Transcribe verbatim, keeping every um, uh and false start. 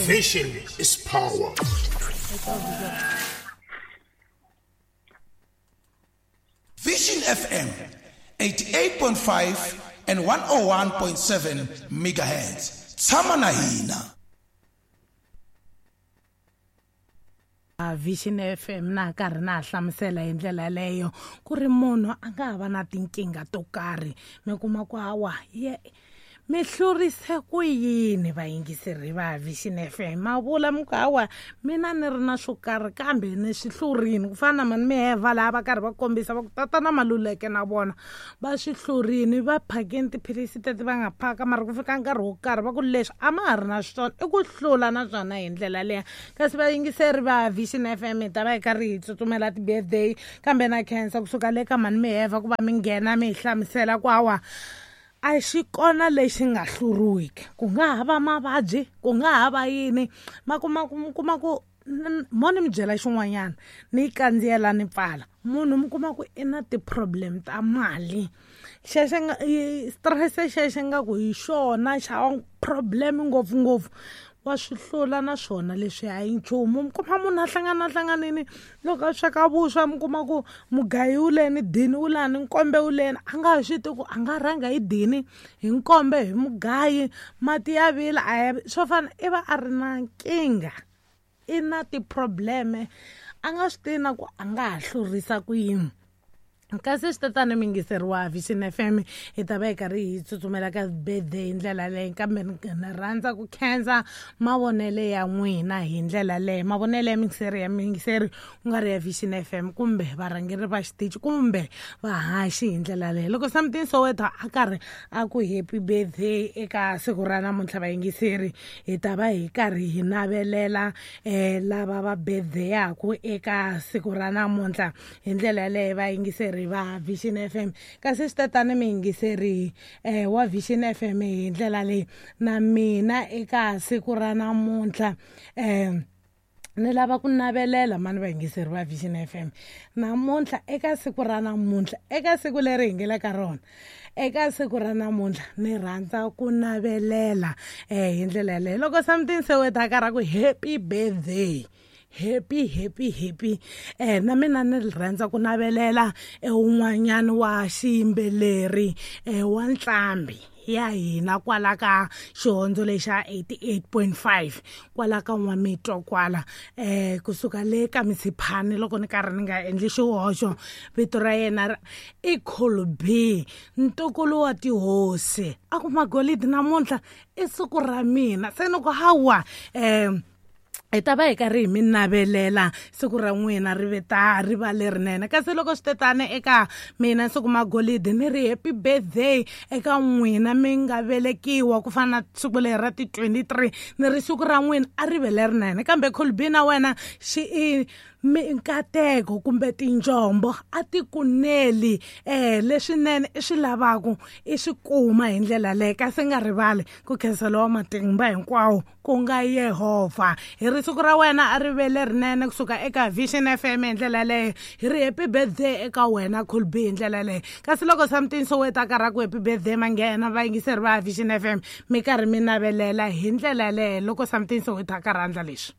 Vision is power. Vision F M eighty-eight point five and one oh one point seven megahertz. Tshama na hina. Vision F M na karhi na hlamusela hi ndlela leyo ku ri munhu a nga ha va na tinkingha to karhi mi kuma ku hawa ye mi hlurise ku yini vayingiseri va Vision F M ma vula mi ku hawa mina ni ri na swo karhi kambe ni swi hlurini ku fana na mani miheva laha va karhi va kombisa va ku tatana Maluleke na vona va swi hlurini va phakeni tiphilisi teti va nga phaka mara ku fika nkarhi wo karhi va ku leswi a ma ha ri na swona i ku hlula na swona hi ndlela leya. Kasi vayingiseri va Vision F M hi ta va hi karhi hi tsutsumela ti-birthday kambe na khensa kusuka le ka mani miheva ku va mi nghena mi hi hlamusela ku hawa a xi kona lexi nga hluriwiki ku nga ha va mavabyi ku nga ha va yini ma kuma ku mi kuma ku mo ni mi byela xin'wanyana ni kandziyela ni pfala munhu mi kuma ku i na ti-problem ta mali xexo nga stress xexo nga ku hi xona xa problem ngopfungopfu wa swi hlula na swona leswi a hi nchumu. Mi kuma munhu a hlangana hlanganini loko a sweka vuswa mi kuma ku mugayi wu leni dini wu lani nkombe wu leni a nga ha swi tivi ku a nga rhanga hi dini hi nkombe hi mugayi mati ya vila a ya swo fana i va a ri na nkingha i na ti-problem a nga swi tivi na ku a nga ha hlurisa ku yini. Kasi swi tatana miyingiseri wa Vision F M hi ta va hi karhi hi tsutsumela ka birthday hi ndlela leyi kambe ni rhandza ku khensa mavonele ya n'wina hi ndlela leyi mavonele ya miyingiseri ya miyingiseri ku nga ri ya Vision F M kumbe varhangeri va xitichi kumbe vahaxi hi ndlela leyi. Loko Something Soweto a karhi a ku happy birthday eka siku ra namuntlha vayingiseri hi ta va hi karhi hi navelela um lava va birthday-aku eka siku ra namuntlha hi ndlela yaleyo vayingiseri va Vision F M. Kasi swi tatana miyingiseri eh wa Vision F M hi ndlela leyi na mina eka siku ra namuntlha eh ni lava ku navelela mani vayingiseri va Vision F M namuntlha eka siku ra namuntlha eka siku leri hi nge le ka rona eka siku ra namuntlha ni rhandza ku navelela eh hi ndlela yaleyo. Loko Something Soweto a karhi a ku happy birthday happy happy happy eh na mina ni rhandza ku navelela un'wanyana wa xiyimbeleri eh wa ntlambi ya hina kwala ka xihondzo lexa eighty-eight point five kwala ka N'wamitwa kwala eh kusuka le ka Misiphani loko ni karhi ni nga endli xihoxo vito ra yena i Colby ntukulu wa tihosi a ku magolidi namuntlha i siku ra mina se ni ku hawa eh hi ta va hi karhi hi mi navelela siku ra n'wina ri ve ta ri va lerinene. Kasi loko swi tetana eka mina siku magolidi ni ri happy birthday eka n'wina mi nga velekiwa ku fana na siku leri ra ti twenty-three ni ri siku ra n'wina a ri ve lerinene kambe Colby na wena xi i minkateko kumbe tinjombo a ti kuneli eh leswinene i swi lavaku i swi kuma hi ndlela leyi. Kasi nga rivali ku khensa lowa matimba hinkwawo ku nga Yehovha. Hi ri siku ra wena a ri ve lerinene kusuka eka Vision F M hi ndlela leyo hi ri happy birthday eka wena Colby hi ndlela leyo. Kasi loko Something Soweto a karhi a ku happy birthday manghena vayingiseri va Vision F M mi karhi mi navelela hi ndlela leyo loko Something Soweto a karhi a endla leswi.